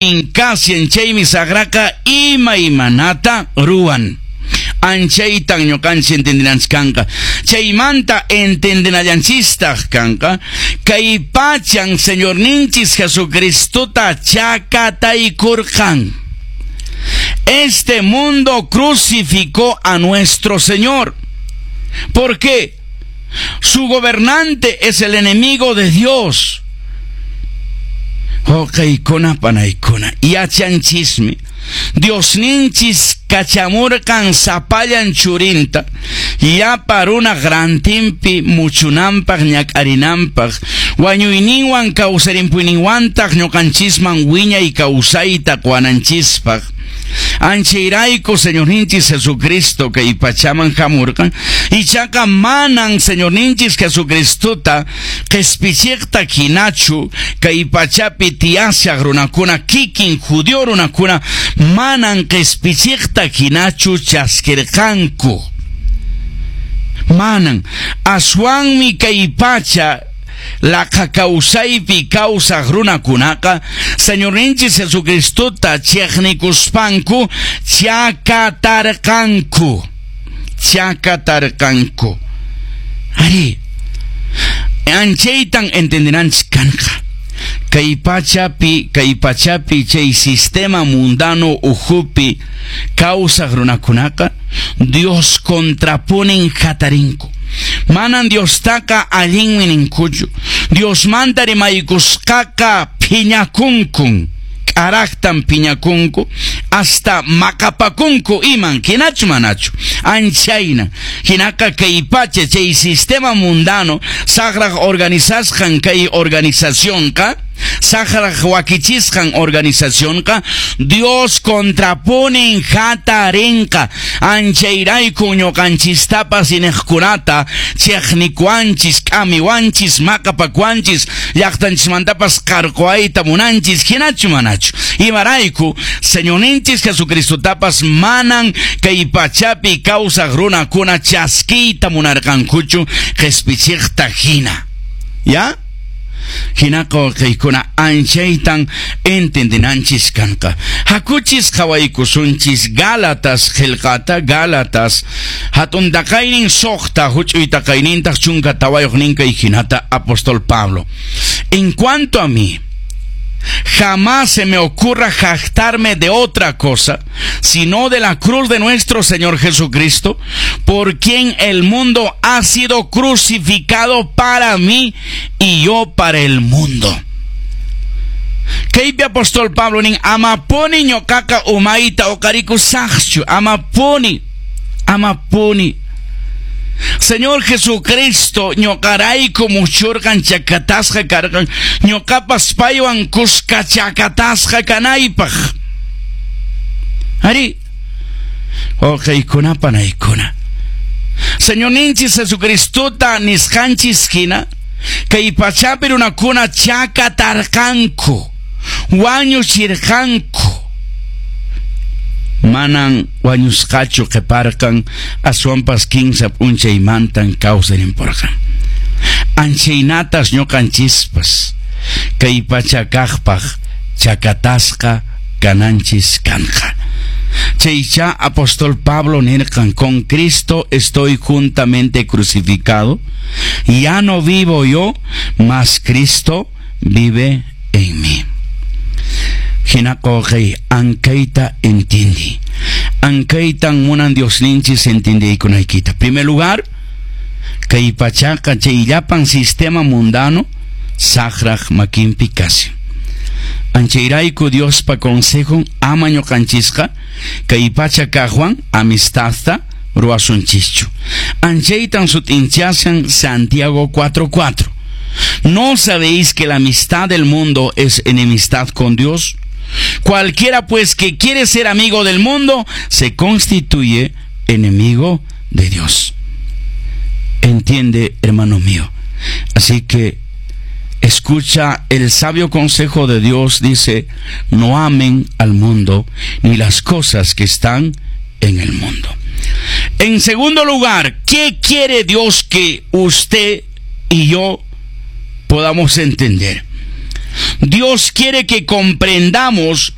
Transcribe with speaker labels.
Speaker 1: Kashan chaymi saqraqa imaymanata ruwan. Anchaytan ñuqanchik entendinanchik kanqa. Chaymanta entendinallanchistaq kanqa. Kay pachan Señorninchis Jesucristota chakataykurqan. Este mundo crucificó a nuestro Señor. ¿Por qué? Su gobernante es el enemigo de Dios. Wawqiykuna panaykuna, yachanchismi Diosninchis kachamurqan sapallan churinta llapa runaq rantinpi muchunanpaq ñak'arinanpaq, wañuyninwan kawsarimpuyninwantaq ñuqanchisman wiñay kawsayta quwananchispaq. Anchayrayku Señorninchis Jesucristo kay pachaman hamurqan, ichaqa manan Señorninchis Jesucristota qespichiqta hinachu kay pachapi tiyashaq runakuna kikin judío runakuna manan qespichiqta hinachu chaskirqanku. Manan, aswanmi kay pacha laqha kawsaypi kawsaq runakunaqa Señorninchis Jesucristota cheqnikuspanku chakatarqanku. Chakatarqanku. Ari, anchaytan entendinanchis kanqa. Kay pachapi chay sistema mundano ukhupi kawsaq runakunaqa Dios contraponen hatarinku. Manan Diostaqa allinmi ninkuchu. Diosmanta rimaykusqaqa phiñakunkun. K'araqtan phiñakunku, hasta maqapakunku iman, hinachu manachu. Anchayna, hinaqa kay pacha chay sistema mundano saqraq organizasqan kay organizacionqa, saqraq wakichisqan organizacionqa, Dios contraponen hatarinqa. Anchayrayku ñuqanchistapas iniqkunata chiqnikuanchis, k'amiwanchis, maqapakuanchis, llaqtanchismantapas qarquwayta munanchis, hinachu manachu. Imarayku Señorninchis Jesucristotapas manan kay pachapi kawsaq runakuna chaskiyta munarqankuchu qhispichiqta hina. ¿Ya? Hinaqa wawqiykuna anchaytan entendinanchis kanqa. Hakuchis qhawaykusunchis Gálatas qillqata, Gálatas hatun taqaynin 6, huch'uy taqaynintaq 14 ninkay hinata apóstol Pablo. En cuanto a mí, jamás se me ocurra jactarme de otra cosa, sino de la cruz de nuestro Señor Jesucristo, por quien el mundo ha sido crucificado para mí y yo para el mundo. Kaypi apóstol Pablo nin, amapuni ñuqaqa umayta uqarikusaqchu, amapuni, amapuni. Señor Jesucristo ñuqarayku muchurqan chakatasqa karqan, ñuqapas paywan kuska chakatasqa kanaypaq. Ari, wawqiykuna panaykuna, Señorninchis Jesucristota nisqanchis hina, kay pachapi runakuna chakatarqanku, wañuchirqanku. Manan wañusqachu qhiparqan, aswanpas 15 p'unchaymantan kawsarinpurqan. Anchaynatas ñuqanchispas kay pacha kaqpaq chakatasqa kananchis kanqa. Chaycha apóstol Pablo nirqan, con Cristo estoy juntamente crucificado, ya no vivo yo, mas Cristo vive en mí. Hinaqa wawqiy, ankayta entendí. Ankaytan munan Diosninchis entendiykunaykita. Primer lugar, kay pachaqa chay llapan sistema mundano saqraq makinpi kashan. Anchayrayku Diospa consejon ama ñuqanchisqa kay pacha kaqwan amistadta ruwasunchischu. Anchaytan sut'inchashan Santiago 4:4. ¿No sabéis que la amistad del mundo es enemistad con Dios? Cualquiera pues que quiere ser amigo del mundo se constituye enemigo de Dios. Entiende, hermano mío. Así que escucha el sabio consejo de Dios. Dice, no amen al mundo ni las cosas que están en el mundo. En segundo lugar, ¿qué quiere Dios que usted y yo podamos entender? Dios quiere que comprendamos